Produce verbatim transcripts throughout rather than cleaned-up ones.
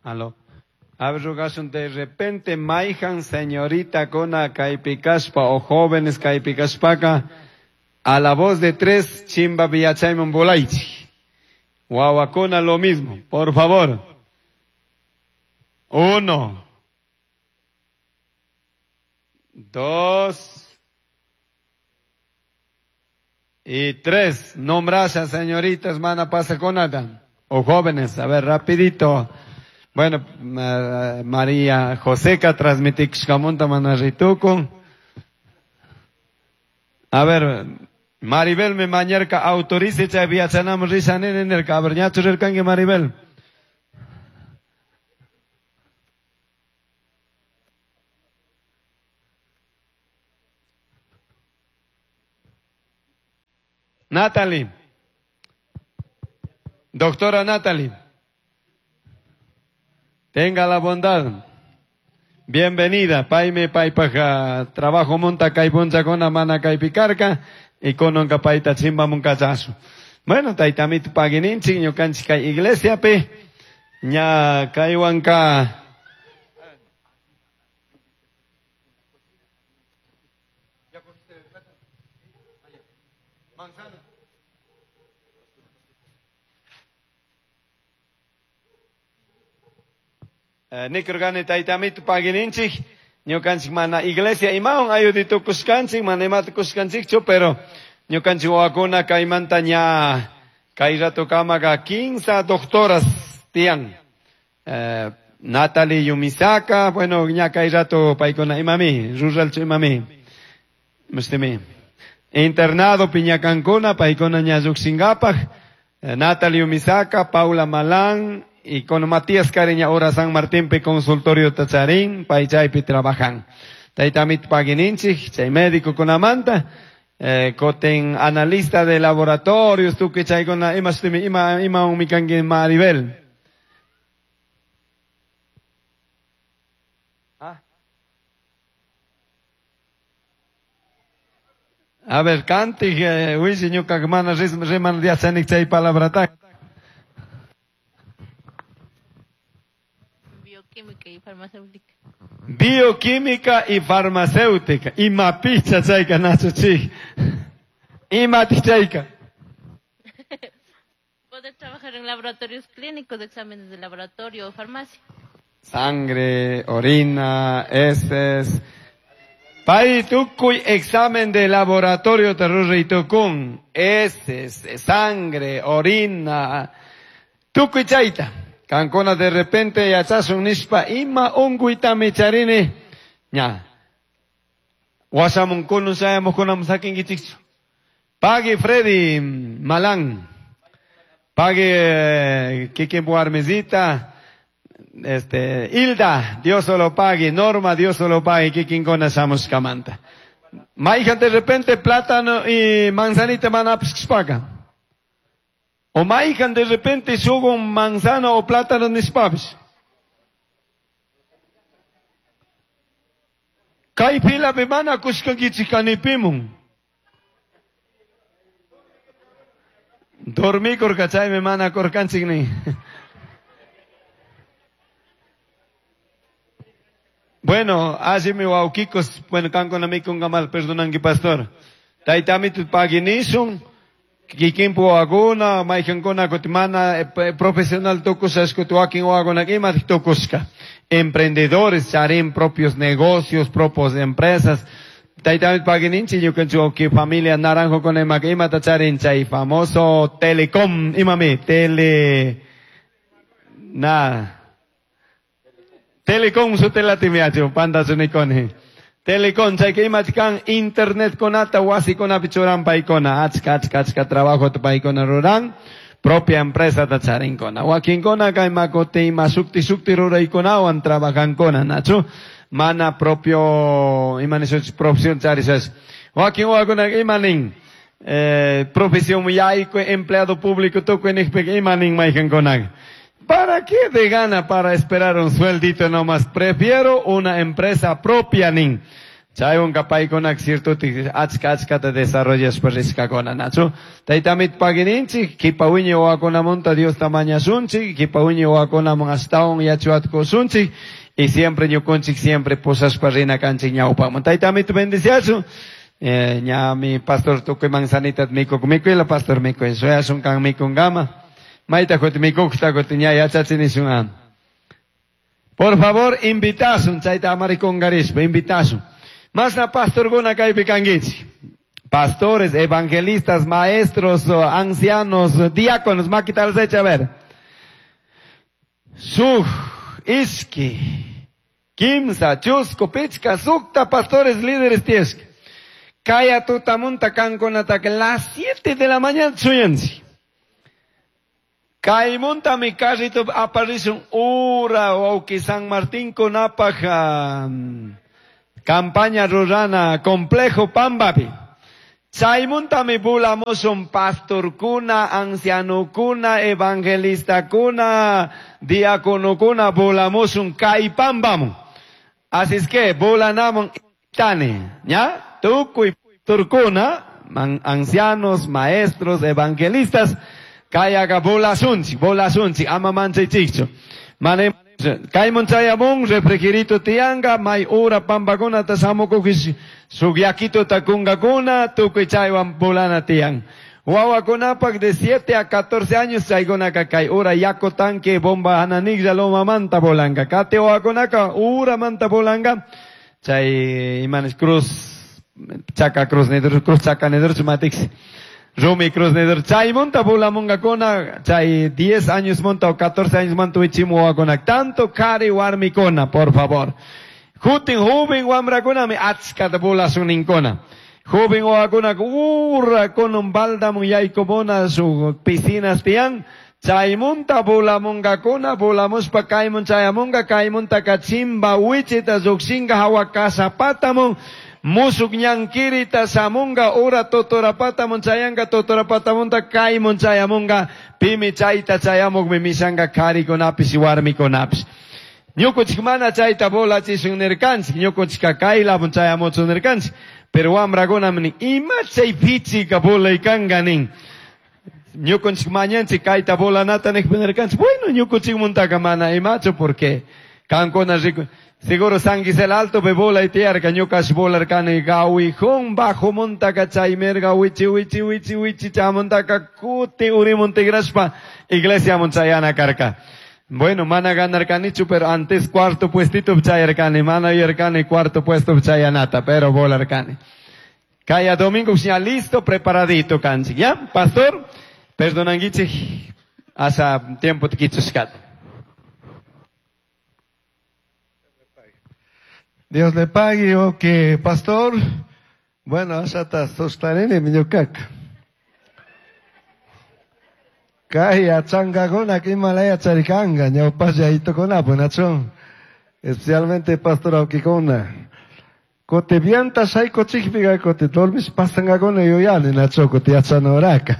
Aló. A ver, rugashun de repente maijan señorita kona kaypikashpa o jóvenes kaypikashpaka a la voz de tres chimba villachayman volaychi. Wawakuna lo mismo, por favor. Uno. Dos. Y tres. Nombrasha señoritas, mana pasa con nada. O jóvenes, a ver, rapidito. Bueno, María Joseca transmitixcamunta manarritucun. A ver, Maribel me mañarca autorice chay viachanam risa nene nerka. A ver, ñachu rirkanki Maribel. Natalie. Doctora Natalie. Tenga la bondad. Bienvenida. Paime paipaja trabajo monta kaipuncha con mana kaipicarca y con paita chimba muncachazo. Bueno, taitamit pagininchi ñukanchik kay iglesia pe ña kaywanka Nikurgani taytamito pagininchik, ñukanchik mana iglesia imawan ayuditukushkanchik, mana imata kushkanchikchu, pero ñukanchik wawakuna kaymanta ña kay rato kamaqa quince doctoras tiyan. Eh, Natalie Yumisaka, bueno, ña kay rato paykuna imami, ruralchu imami. Mustimi. Internado piñakankuna, paykuna ña lluqshinkapaq. Eh, Natalie Yumisaka, Paula Malán, y con Matías Cariña ahora San Martín pe consultorio tacharín, paychaypi trabajan. Taytamit pagininchik, chay médico con amanta, eh, coten analista de laboratorios, tu que chay con ima ima ima un mikangi Maribel. ¿Ah? A ver, cante, eh, uy, ñuka mana riman diachanik chay palabrata. Bioquímica y farmacéutica. Bioquímica y farmacéutica. Ima picha chayka nacho chi. Ima chayka. Poder trabajar en laboratorios clínicos, exámenes de laboratorio o farmacia. Sangre, orina, heces. Pay tukuy examen de laboratorio terrorritukun. Heces, sangre, orina. Tukuy chayta. Kankuna de repente yachasun nishpa ima unquyta micharini ña. Wasamunkuna shayamuqkunam sakinkichikchu. Pague Freddy Malán. Pague Kiki Buarmezita. Este, Hilda, Dios solo pague. Norma, Dios solo pague. Kikinkuna shamushkamanta. Maijan de repente plátano y manzanita manapishpaga. O maijan de repente subo un manzano o plátano nishpapish. Kay pila mana kushkankichik kanipimun. Dormikurka chaymi mana kurkanchik ni. Bueno, así mi wawkikos, bueno, kankuna mikunkamal, perdonanki pastor. Taytamito paginishun. Kikinpu wawakuna, mayqankuna kutimana profesional tukusha wakin wawakuna ima tukushka. Emprendedores, charin propios negocios, propios empresas. Taytamit pagininchi ñukanchik wawqi familia Naranjo con ima imata charin chay famoso Telecom, imami, tele na Telecom su telatimiachu, panda sunikoni. Telecom, chayka imach kan internet konata wasikunapi churan paykuna, achka achka achka trabajo paykuna ruran, propia empresa ta charinkuna. Wakinkuna kay makuti ima sukti sukti ruraykunawan trabajankuna, nachu? Mana propio, ima nishuch profesión charishash. Wakin wakuna ima nin, eh, profesión yayku empleado público tukuy niqpika ima nin mayqankuna. ¿Para qué de gana para esperar un sueldito nomás? Prefiero una empresa propia, nin. Chaywanka paykunak ciertutik achka achkata desarrollashpa rishkakuna nachu. Taytamit pagininchik, kipa wiñay wawakunamunta Diosta mañasunchik, kipa wiñay wawakunamun ashtawan yachuatkusunchik, y siempre ñukunchik siempre pusashpa rina kanchik ñawpaman. Taytamit bendiciasun. Eh, ñami pastor tukuy manzanita mikuk mikuyla pastor mikuy. Suyasun kan mikungama. Mayta kuti mikukta kuti ña yachachinishun. Por favor, invitasun, chayta amarikungarispa, invitasun. Masna pastorkuna kaypi kankichik. Pastores, evangelistas, maestros, ancianos, diáconos, makita alzacha, a ver. Suj, iski, kimsa, chusco, pichka, sukta, pastores, líderes tiyashka. Kaya tutamunta kankunataka las siete de la mañana suyanchik. Kaymunta mi carrito aparishun ura wawki San Martín kunapaj um, campaña rurana complejo Pambapi. Chaymuntami bulamusun pastorkuna, ancianokuna, evangelistakuna, diaconokuna bulamusun kay Pambamun. Así es que bulanamun tani, ¿ya? Tukuy pastorkuna, man, ancianos, maestros, evangelistas, kayaga bulasunchik, bulasunchik, ama manchaychikchu. Mane kaymun chayamun refrigerito tiyanga, may ura pambakunata shamukukish suk yakituta kunkakuna, tukuy chaywan bulana tiyan. Wawakunapak de siete a catorce años chaykunaka kay ura yaku tanque bomba hananiglla lomamanta bolanka. Kati wawakunaka uramanta bolanka, chay imanes cruz, chaka cruz nidur, cruz chaka nidur chumatiksi. Rumi cruz nidur, chaymunta bulamungakuna, chay diez años monta o catorce años monta wichimu wawakunak. Tanto kari warmikuna, por favor. Jutin joven wamrakunami achkata bulasuninkuna. Joven wawakunak ura con un baldamun yaykumuna su piscinas tiyan. Chaymunta bulamungakuna, bulamuspa kaymun chayamunga, kaymunta kachimba wichita llukshinga hawa kasapatamun. Musuk ñankirita samunga ura totorapatamun chayanga totorapatamunta kaymun chayamunga pimi chayta chayamukmi mishanga karikunapish warmikunapish. Ñukunchik mana chayta bolachishun nirkanchik, ñukunchikka kaylapun chayamuchun nirkanchik, pero wamrakunami nin ima chay pichika bolaykanka nin. Ñukunchik mañanchik kayta bolanata nijpi nirkanchik, bueno ñukunchikmuntaka mana imachu porque kankuna riku. Seguro San Gisel Alto be bola y tierra, ñukas volarkani gawijón bajo montaka chaymerga wichi wichi wichi wichi chamontaka kuti urimontigraspa iglesia monchayana karka. Bueno, mana ganarkanichu, pero antes cuarto puestito chayarkani, mana yarkani cuarto puesto chayanata, pero volarkani. Kaya domingo ya listo, preparadito kanchik, ¿ya? Pastor, perdonanguichi, hasta tiempo tikichushkat. Dios le pague, ok, pastor. Bueno, ashata sostanini miñukaka. Kay achangakuna kimalaya charikanga, ñawpaslla itukunapu nachun. Especialmente pastor awkikuna. Kote vienta shayko chikpiga, kote dormish pasangakuna yuyani nacho, kote yachanoraka.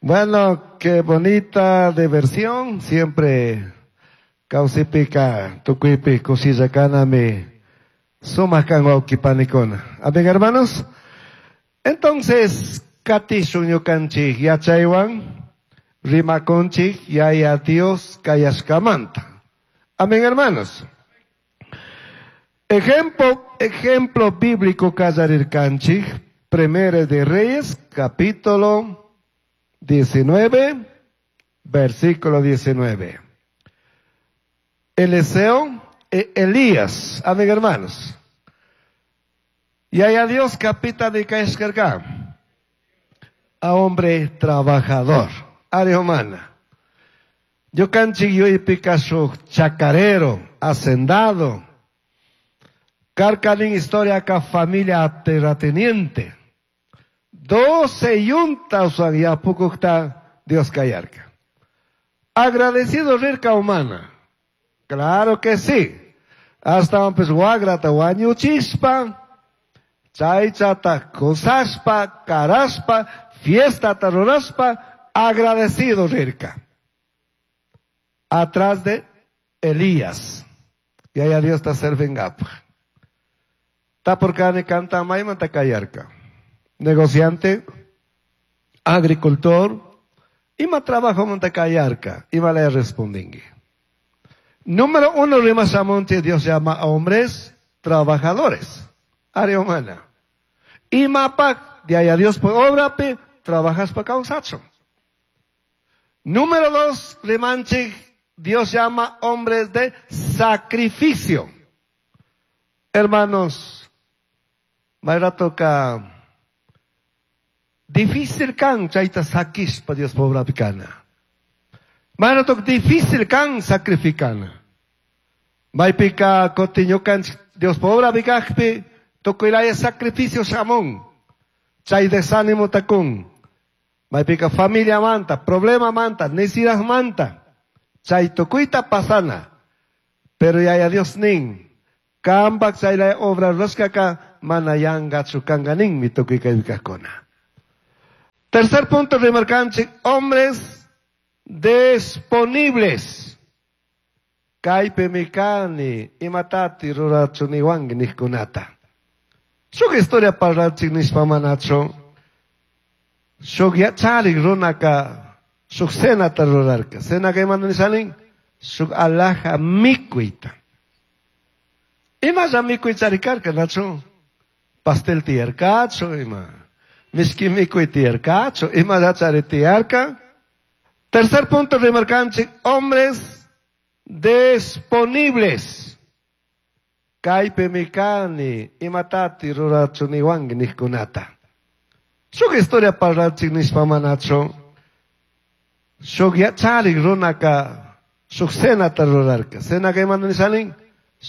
Bueno, qué bonita diversión, siempre kawsipika, tukuypi kushillakanami sumaq kan wawqipanikuna. Amén, hermanos. Entonces, katishun ñukanchik yachaywan rimakunchik yaya Dios kayashkamanta. Amén, hermanos. Ejemplo, ejemplo bíblico kallarirkanchik, Primera de Reyes, capítulo diecinueve, versículo diecinueve. Eliseo e Elías, amén, hermanos. Y allá Dios capita de Caescarga, a hombre trabajador, área humana. Yo canchi yo y Picasso, chacarero, hacendado. Carcalín historia acá familia terrateniente. Doce yuntas ya poco está Dios callarca. Agradecido rica humana. Claro que sí. Hasta pues guagrata guañuchispa, chaychata cosaspa, caraspa, fiesta taroraspa, agradecido rica. Atrás de Elías. Y allá Dios está servingapa. Tapurkani kanta maymanta kayarka. Negociante, agricultor, ima trabajo manta kayarka, ima le respondingi. Número uno, rimashamunchik, Dios llama a hombres trabajadores. Área humana. Imapak, de allá Dios por obra, pe, trabajas pa kawsachun. Número dos, rimanchik, Dios llama hombres de sacrificio. Hermanos, toca difícil kan chayta sakishpa Dios pobre pikana. Mayrato difícil kan sacrificana. Maypika kotiñukan Dios pobre pikajpi tukuylaya sacrificio shamun. Chay desánimo takun. Maypika familia manta, problema manta, necesidad manta. Chay tukuyta pasana. Pero yaya Dios nin. Kambak chaylaya obra rurashkaka mana yangachu kanka ninmi tukuy kaypi. Tercer punto rimarkanchik, hombres disponibles. Kaypimi kani imatati rurachuniwanki nijkunata. Shuk historia parlachik nishpa manachu. Shuk yacharik runaka shuk cenata rurarka. Cenaka imata nishanin? Shuk alhaja mikuyta. Imalla mikuy charikarka, nachu? Pastel tiyarkachu, ima. Mishki mikuy tiyarkachu, imalla chari tiyarka. Tercer punto rimarkanchik, hombres disponibles. Kaypimi kani imatati rurachuniwanki nijkunata. Shuk historia parlachik nishpa manachu. Shuk yacharik runaka shuk cenata rurarka. Cenaka imata nishanin?